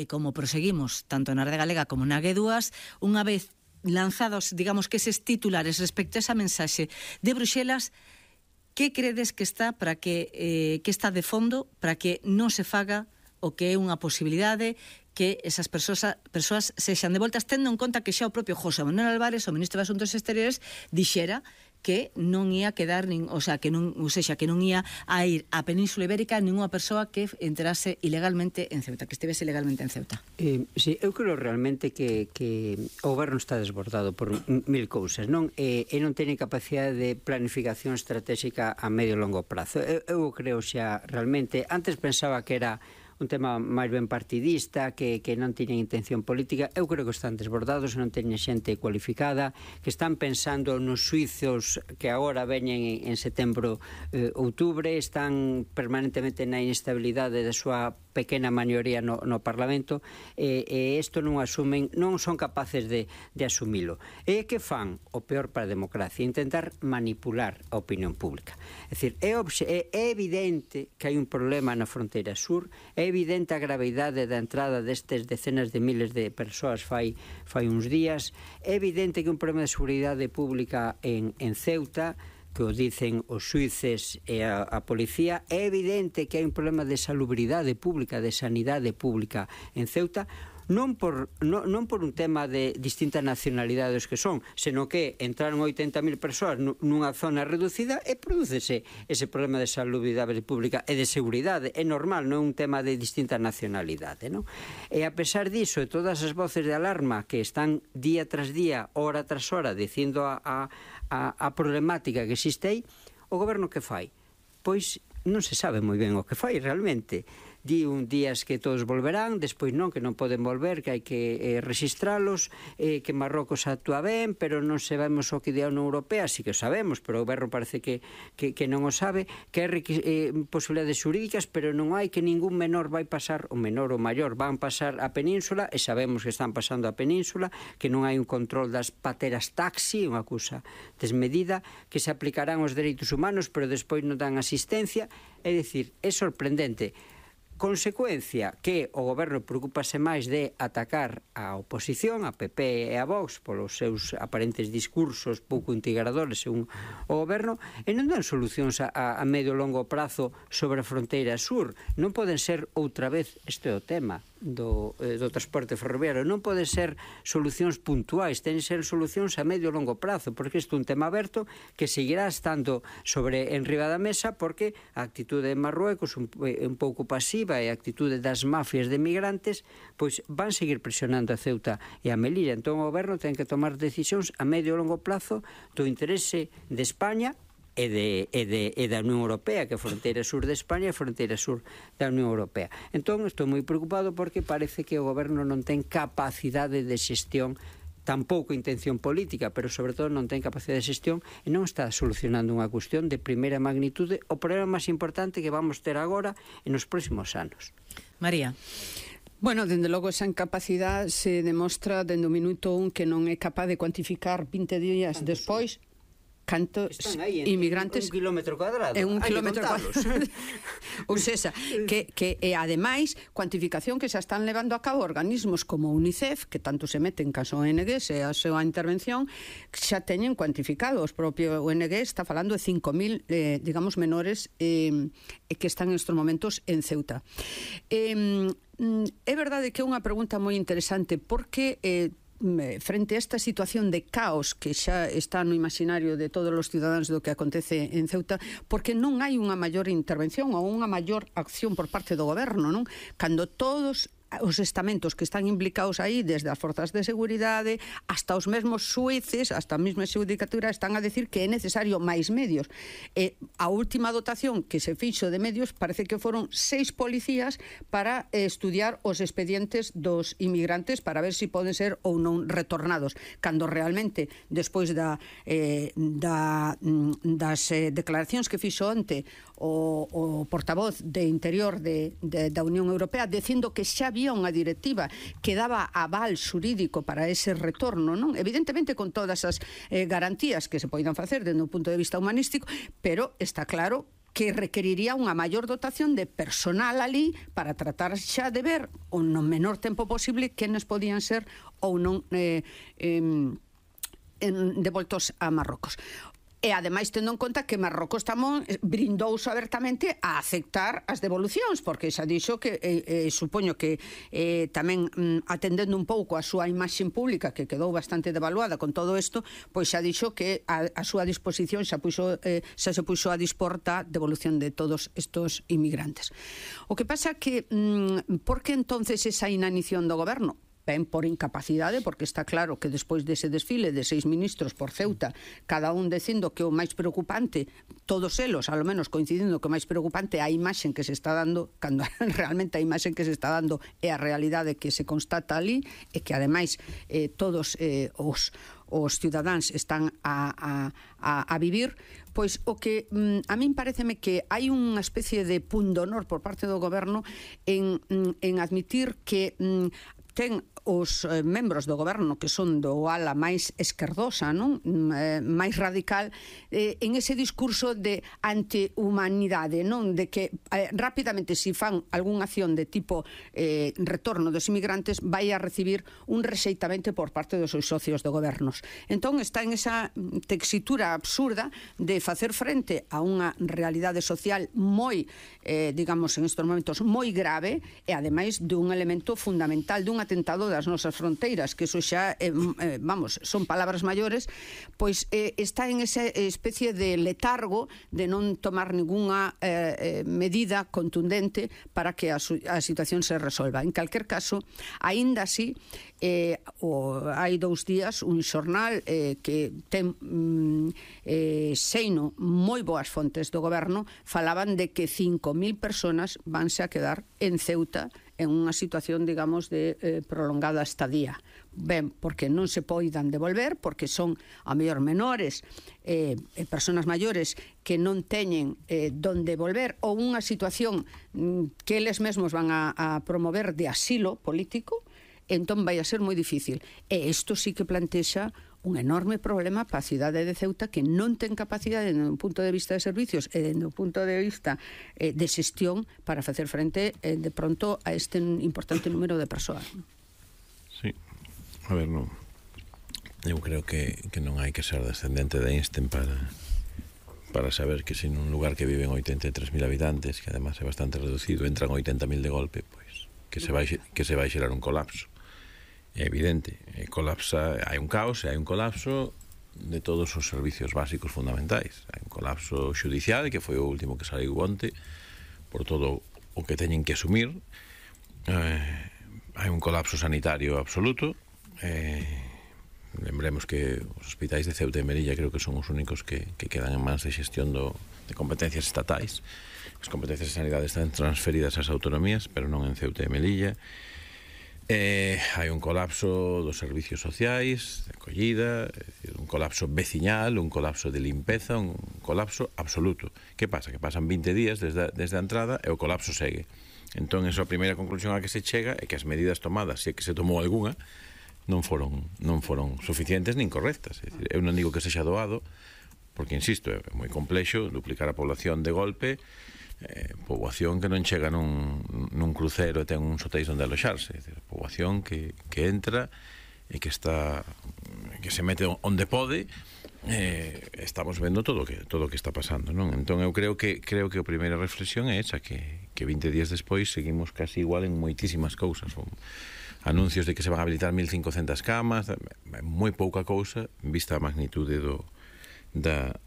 como proseguimos tanto na Rede Galega como na G2, unha vez lanzados, digamos, que eses titulares respecto a esa mensaxe de Bruxelas, que credes que está para que está de fondo para que non se faga o que é unha posibilidade que esas persoas sexan devoltas, tendo en conta que xa o propio José Manuel Álvarez, o ministro de Asuntos Exteriores, dixera que non ia quedar que non ia a ir á Península Ibérica ninguna persoa que entrase ilegalmente en Ceuta, que estivese ilegalmente en Ceuta. Sí, eu creo realmente que o goberno está desbordado por mil cousas, non? E non ten capacidade de planificación estratégica a medio e longo prazo. Eu creo xa realmente, antes pensaba que era un tema máis ben partidista, que non tiñen intención política. Eu creo que están desbordados, non teñen xente cualificada, que están pensando nos suizos que agora veñen en setembro, outubro, están permanentemente na inestabilidade da súa pequena maioría no Parlamento, e isto non asumen, non son capaces de asumilo. E que fan o peor para a democracia? Intentar manipular a opinión pública. É dicir, é evidente que hai un problema na fronteira sur, é evidente a gravidade da entrada destes decenas de miles de persoas fai uns días, é evidente que un problema de seguridade pública en Ceuta, que o dicen os xuíces e a policía, é evidente que hai un problema de salubridade pública, de sanidade pública en Ceuta, non por un tema de distintas nacionalidades que son, senón que entraron 80.000 persoas nunha zona reducida e prodúcese ese problema de salubridade pública e de seguridade. É normal, non é un tema de distinta nacionalidade, non? E a pesar diso, de todas as voces de alarma que están día tras día, hora tras hora, dicindo a problemática que existe aí, o goberno que fai? Pois non se sabe moi ben o que fai realmente. Di un días que todos volverán, despois non, que non poden volver, que hai que registralos, que Marrocos actúa ben, pero non sabemos o que di a Unión Europea, sí que o sabemos, pero o goberno parece que non o sabe, que hai posibilidades xurídicas, pero non hai, que ningún menor vai pasar, o menor ou maior van pasar a península, e sabemos que están pasando a península, que non hai un control das pateras taxi, unha cousa desmedida, que se aplicarán os dereitos humanos, pero despois non dan asistencia. É dicir, é sorprendente. Consecuencia que o goberno preocupase máis de atacar a oposición, a PP e a Vox, polos seus aparentes discursos pouco integradores según o goberno, e non dan solucións a medio e longo prazo sobre a fronteira sur. Non poden ser outra vez, este é o tema do transporte ferroviario, non poden ser solucións puntuais, ten ser solucións a medio e longo prazo, porque isto é un tema aberto que seguirá estando en riba da mesa, porque a actitude de Marruecos un pouco pasiva e a actitude das mafias de migrantes, pois van seguir presionando a Ceuta e a Melilla. Entón o goberno ten que tomar decisións a medio e longo plazo do interese de España e da Unión Europea, que é a fronteira sur de España e a fronteira sur da Unión Europea. Entón estou moi preocupado porque parece que o goberno non ten capacidade de xestión, tampouco intención política, pero sobre todo non ten capacidade de xestión e non está solucionando unha cuestión de primeira magnitude, o problema máis importante que vamos ter agora e nos próximos anos. María. Bueno, dende logo esa incapacidade se demostra dende o minuto 1 que non é capaz de cuantificar 20 días despois cantos inmigrantes, un kilómetro cuadrado, é un kilómetro cuadrado. Ou seja, que ademais cuantificación que xa están levando a cabo organismos como UNICEF, que tanto se meten caso ONGs e a súa intervención, xa teñen cuantificado. Os propio ONG está falando de 5.000 digamos menores que están nestes momentos en Ceuta. É verdade que é unha pregunta moi interesante, porque frente a esta situación de caos que xa está no imaginario de todos os cidadáns do que acontece en Ceuta, porque non hai unha maior intervención ou unha maior acción por parte do goberno, non? Cando todos os estamentos que están implicados aí, desde as forzas de seguridade hasta os mesmos xueces, hasta a mesma xudicatura, están a decir que é necesario máis medios. A última dotación que se fixo de medios parece que foron 6 policías para estudiar os expedientes dos inmigrantes para ver se poden ser ou non retornados, cando realmente despois das declaracións que fixo onte o portavoz de Interior da Unión Europea dicindo que xa había unha directiva que daba aval xurídico para ese retorno, non? Evidentemente con todas as garantías que se poidan facer desde un punto de vista humanístico, pero está claro que requeriría unha maior dotación de personal ali para tratar xa de ver no menor tempo posible quenes podían ser ou non devoltos a Marrocos. E, ademais, tendo en conta que Marrocos tamén brindouse abertamente a aceptar as devolucións, porque xa dixo que, supoño que tamén atendendo un pouco a súa imaxe pública, que quedou bastante devaluada con todo isto, pois xa dixo que a súa disposición xa se puxo a dispor da devolución de todos estos inmigrantes. O que pasa que, por que entonces esa inanición do goberno? Ben por incapacidade, porque está claro que despois dese desfile de 6 ministros por Ceuta, cada un dicindo que o máis preocupante, todos elos, ao menos coincidindo que o máis preocupante é a imaxe que se está dando, cando realmente a imaxe que se está dando é a realidade que se constata ali, e que ademais todos os cidadáns están a vivir, pois o que a min pareceme que hai unha especie de pundonor por parte do goberno en admitir que ten os membros do goberno que son do ala máis esquerdosa, non? Máis radical, en ese discurso de antihumanidade, non? De que rapidamente, se fan algunha acción de tipo retorno dos inmigrantes, vai a recibir un rexeitamento por parte dos seus socios do gobernos. Entón está en esa texitura absurda de facer frente a unha realidade social moi, digamos, en estes momentos moi grave, e ademais dun elemento fundamental, dun atentado das nosas fronteiras, que eso xa, vamos, son palabras maiores, pois está en esa especie de letargo de non tomar ninguna medida contundente para que a situación se resolva. En calquer caso, aínda así, hai 2 días un xornal que ten seino moi boas fontes do goberno, falaban de que 5.000 personas vanse a quedar en Ceuta en unha situación, digamos, de prolongada estadía. Ben, porque non se poidan devolver, porque son, a mellor, menores, personas maiores que non teñen donde volver, ou unha situación que eles mesmos van a promover de asilo político, entón vai a ser moi difícil. E isto sí que plantexa un enorme problema para a cidade de Ceuta, que non ten capacidade no punto de vista de servicios e no punto de vista de xestión para facer frente de pronto a este importante número de persoas. Sí, a ver, non. Eu creo que non hai que ser descendente de Einstein para saber que se nun lugar que viven 83.000 habitantes, que además é bastante reducido, entran 80.000 de golpe, pois que se vai xerar un colapso. É evidente, colapsa, hai un caos e hai un colapso de todos os servicios básicos fundamentais. Hai un colapso xudicial, que foi o último que saiu onte, por todo o que teñen que asumir. Hai un colapso sanitario absoluto. Lembremos que os hospitais de Ceuta e Melilla creo que son os únicos que quedan en mans de xestión de competencias estatais. As competencias de sanidade están transferidas ás autonomías, pero non en Ceuta e Melilla. Hai un colapso dos servicios sociais, de acollida, un colapso veciñal, un colapso de limpeza, un colapso absoluto. Que pasa? Que pasan 20 días desde a entrada e o colapso segue. Entón, esa primeira conclusión a que se chega é que as medidas tomadas, se é que se tomou algunha, non foron suficientes nin correctas. É dicir, eu non digo que sexa doado, porque, insisto, é moi complexo duplicar a población de golpe, poboación que non chega nun crucero e ten uns hotéis onde aloxarse, é dicir, poboación que entra e que se mete onde pode. Estamos vendo todo o que está pasando, non? Entón eu creo que a primeira reflexión é esa, que 20 días despois seguimos casi igual en moitísimas cousas. Anuncios de que se van a habilitar 1.500 camas, moi pouca cousa vista a magnitude da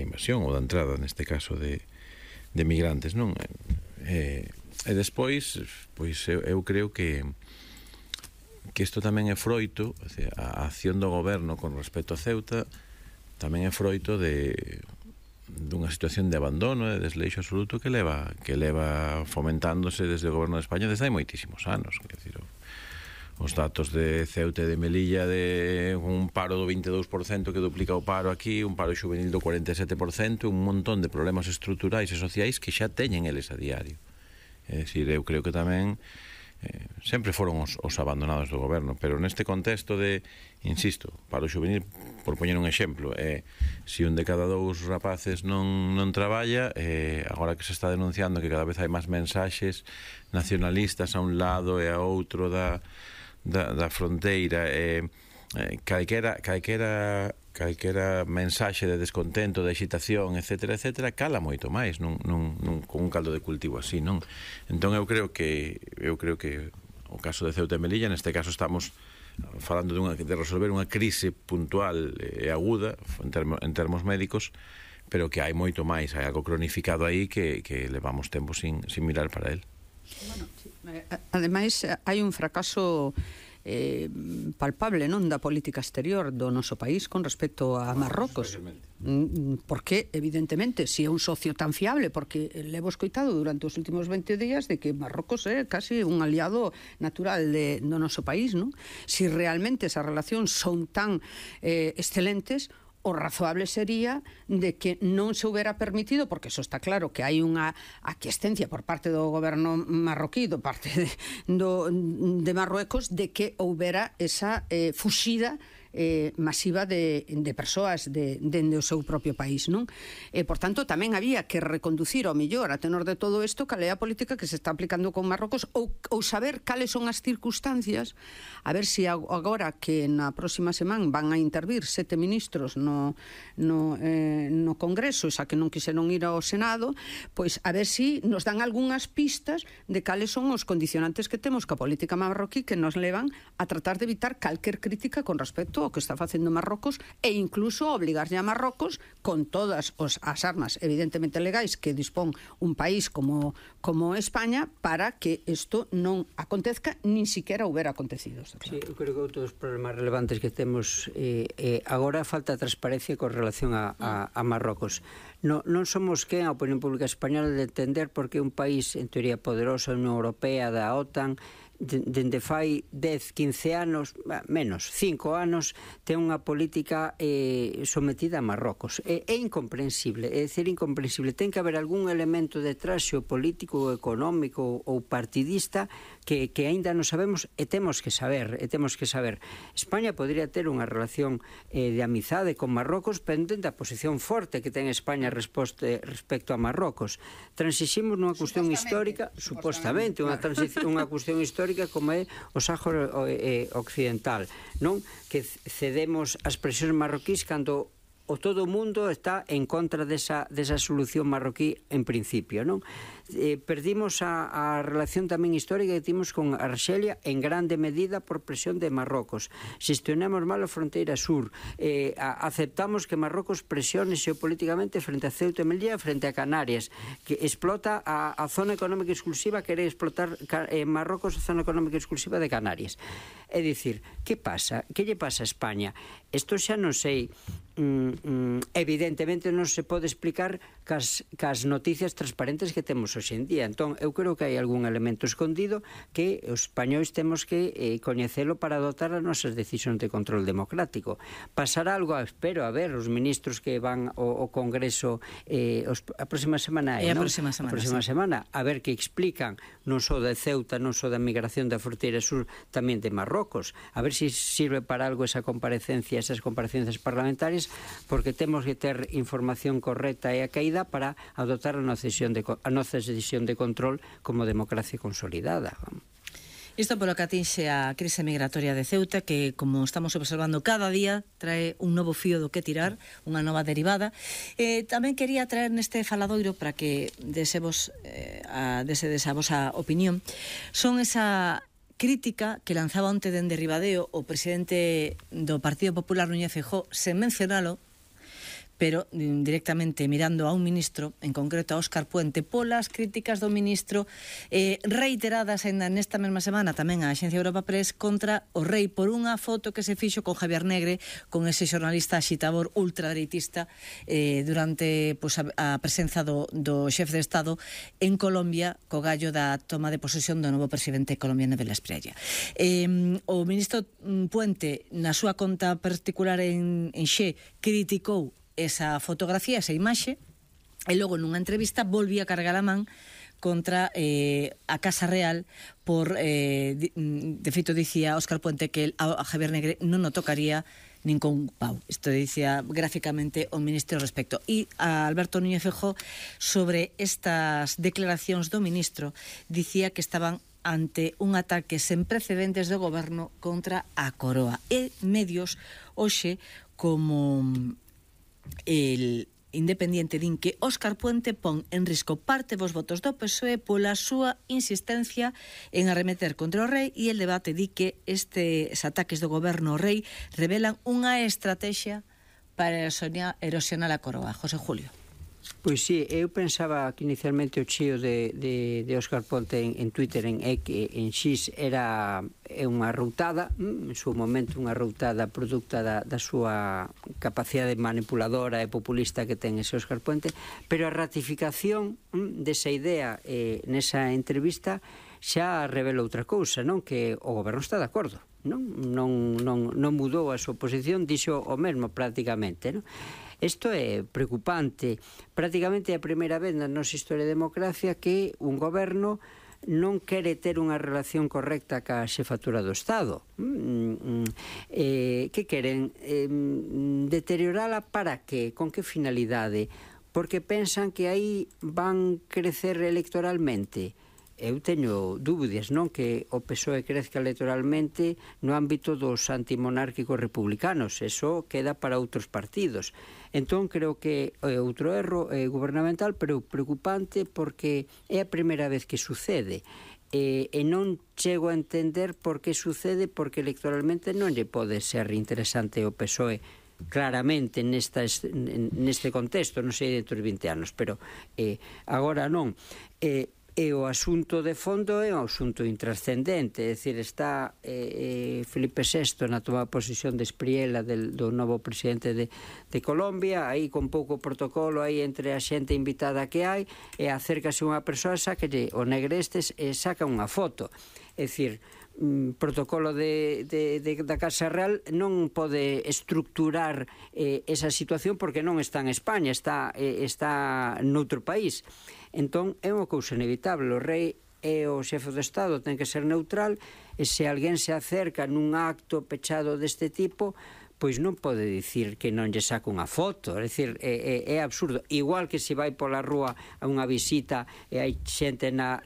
invasión ou da entrada, neste caso, de migrantes, non? E despois, pois eu creo que isto tamén é froito, a acción do goberno con respecto a Ceuta tamén é froito dunha situación de abandono, de desleixo absoluto que leva fomentándose desde o goberno de España desde hai moitísimos anos. Quer dizer, os datos de Ceuta e de Melilla, de un paro do 22% que duplica o paro aquí, un paro juvenil do 47%, un montón de problemas estruturais e sociais que xa teñen eles a diario. É dicir, eu creo que tamén sempre foron os abandonados do goberno, pero neste contexto de, insisto, para o xuvenil, por poñer un exemplo, se un de cada dous rapaces non traballa, agora que se está denunciando que cada vez hai máis mensaxes nacionalistas a un lado e a outro da fronteira, calquera mensaxe de descontento, de excitación, etcétera, cala moito máis con un caldo de cultivo así, non? Entón eu creo que o caso de Ceuta e Melilla, neste caso estamos falando de resolver unha crise puntual e aguda en termos médicos, pero que hai moito máis, hai algo cronificado aí que levamos tempo sin mirar para él. Bueno, sí. Ademais, hai un fracaso palpable, non, da política exterior do noso país con respecto a Marrocos, porque evidentemente se é un socio tan fiable, porque levo escoitado durante os últimos 20 días de que Marrocos é casi un aliado natural do noso país, non? Si realmente esas relacións son tan excelentes, o razoable sería de que non se houbera permitido, porque eso está claro, que hai unha aquiescencia por parte do goberno marroquí, do parte de Marruecos, de que houbera esa fuxida masiva de persoas dende o seu propio país, non? Por tanto, tamén había que reconducir ao mellor a tenor de todo isto cal é a política que se está aplicando con Marrocos ou saber cales son as circunstancias, a ver se agora que na próxima semana van a intervir 7 ministros no Congreso, xa que non quixeron ir ao Senado, pois a ver se nos dan algunhas pistas de cales son os condicionantes que temos ca política marroquí que nos levan a tratar de evitar calquer crítica con respecto ao que está facendo Marrocos e incluso obligarlle a Marrocos con todas as armas evidentemente legais que dispón un país como España para que isto non acontezca nin siquiera houbera acontecido. Sí, eu creo que outros problemas relevantes que temos agora falta transparencia con relación a Marrocos. Non somos quen a opinión pública española de entender por que un país en teoría poderoso, a Unión Europea, da OTAN, dende fai 10, 15 anos, menos, 5 anos, ten unha política sometida a Marrocos. É incomprensible, é dicir, incomprensible. Ten que haber algún elemento detrás xeopolítico, económico ou partidista que aínda non sabemos e temos que saber. España podría ter unha relación de amizade con Marrocos pendente da posición forte que ten España respecto a Marrocos. Transiximos nunha cuestión histórica, supostamente, unha cuestión histórica como é o Sáhara Occidental, non? Que cedemos as presións marroquís cando o todo o mundo está en contra desa solución marroquí en principio, non? Perdimos a relación tamén histórica que temos con Arxelia en grande medida por presión de Marrocos. Xestionamos mal a fronteira sur, aceptamos que Marrocos presione xeopolíticamente frente a Ceuta e Melilla, frente a Canarias, que explota a zona económica exclusiva, quere explotar Marrocos a zona económica exclusiva de Canarias. É dicir, que pasa? Que lle pasa a España? Isto xa non sei, evidentemente non se pode explicar cas noticias transparentes que temos hoxe en día. Entón, eu creo que hai algún elemento escondido que os españois temos que coñecelo para adoptar as nosas decisións de control democrático. Pasará algo, espero, a ver, os ministros que van ao Congreso a próxima semana, a próxima semana, a ver que explican non só de Ceuta, non só da migración da fronteira sur, tamén de Marrocos. A ver se sirve para algo esas comparecencias parlamentarias, porque temos que ter información correcta e acaída para adoptar a nosa decisión de control como democracia consolidada. Isto polo que atinxe a crise migratoria de Ceuta, que, como estamos observando cada día, trae un novo fío do que tirar, unha nova derivada. Tamén quería traer neste faladoiro para que desedes a vosa opinión. Son esa crítica que lanzaba onte dende Ribadeo o presidente do Partido Popular, Núñez Feijóo, sen mencionalo, pero directamente mirando a un ministro, en concreto a Óscar Puente, polas críticas do ministro reiteradas ainda nesta mesma semana tamén a Axencia Europa Press contra o rei por unha foto que se fixo con Javier Negre, con ese xornalista axitador ultradereitista durante a presenza do xefe de Estado en Colombia co gallo da toma de posesión do novo presidente colombiano de la Espriella. O ministro Puente, na súa conta particular en Xe, criticou esa fotografía, esa imaxe, e logo nunha entrevista volvía a cargar a man contra a Casa Real por, de feito, dicía Óscar Puente que a Javier Negre non o tocaría nin con pau. Isto dicía gráficamente o ministro ao respecto. E a Alberto Núñez Feijóo, sobre estas declaracións do ministro, dicía que estaban ante un ataque sen precedentes do goberno contra a Coroa. E medios hoxe como el Independiente din que Óscar Puente pon en risco parte dos votos do PSOE pola súa insistencia en arremeter contra o rei, e el debate di que estes ataques do goberno ao rei revelan unha estrategia para erosionar a Coroa. José Julio. Pois sí, eu pensaba que inicialmente o chío de Óscar Ponte en Twitter, en X, era unha routada, en seu momento unha routada producta da súa capacidade manipuladora e populista que ten ese Óscar Puente, pero a ratificación desa idea nesa entrevista xa revela outra cousa, non? Que o goberno está de acordo, non mudou a súa posición, dixo o mesmo prácticamente, non? Isto é preocupante. Prácticamente é a primeira vez na nosa historia de democracia que un goberno non quere ter unha relación correcta ca xefatura do Estado. Que queren? Deteriorala para que? Con que finalidade? Porque pensan que aí van crecer electoralmente. Eu teño dúbidas, non? Que o PSOE crezca electoralmente no ámbito dos antimonárquicos republicanos. Eso queda para outros partidos. Entón, creo que é outro erro gubernamental, pero preocupante, porque é a primeira vez que sucede. E non chego a entender por que sucede, porque electoralmente non lle pode ser interesante o PSOE claramente neste contexto, non sei dentro de 20 anos, pero agora non. E o asunto de fondo é un asunto intrascendente, é dicir, está Felipe VI na toma de posición de Espriella do novo presidente de Colombia, aí con pouco protocolo aí entre a xente invitada que hai, e acércase unha persoa, sáquelle o negre estes e saca unha foto. É dicir, protocolo da Casa Real non pode estructurar esa situación, porque non está en España, está noutro país. Entón, é unha cousa inevitable. O rei e o xefe do Estado ten que ser neutral, e se alguén se acerca nun acto pechado deste tipo, pois non pode dicir que non lle saca unha foto. É dicir, é absurdo. Igual que se vai pola rúa a unha visita e hai xente na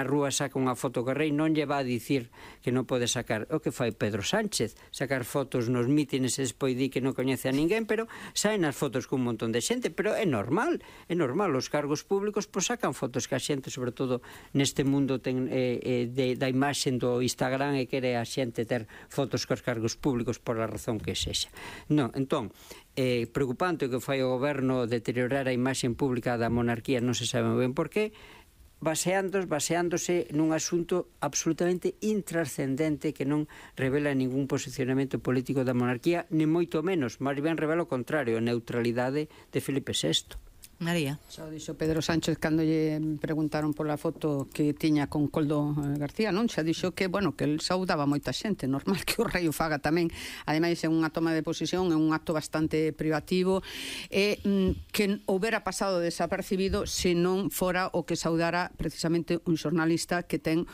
rúa saca unha foto co rei, non lle va a dicir que non pode sacar. O que fai Pedro Sánchez, sacar fotos nos mítines e despois di que non coñece a ninguén, pero saen as fotos con un montón de xente. Pero é normal, os cargos públicos pois sacan fotos que a xente, sobre todo neste mundo da imaxe do Instagram, e quere a xente ter fotos cos cargos públicos por a razón que sexa. Non, entón, preocupante o que fai o goberno deteriorar a imaxe pública da monarquía, non se sabe ben por qué, baseándose nun asunto absolutamente intrascendente que non revela ningún posicionamento político da monarquía, ni moito menos, máis ben revela o contrario, a neutralidade de Felipe VI. María. Xa o dixo Pedro Sánchez cando lle preguntaron pola foto que tiña con Coldo García, non? Xa dixo que, bueno, que el saudaba moita xente, normal que o rei o faga tamén. Ademais, é unha toma de posición, é un acto bastante privativo, e que houbera pasado desapercibido se non fora o que saudara precisamente un xornalista que ten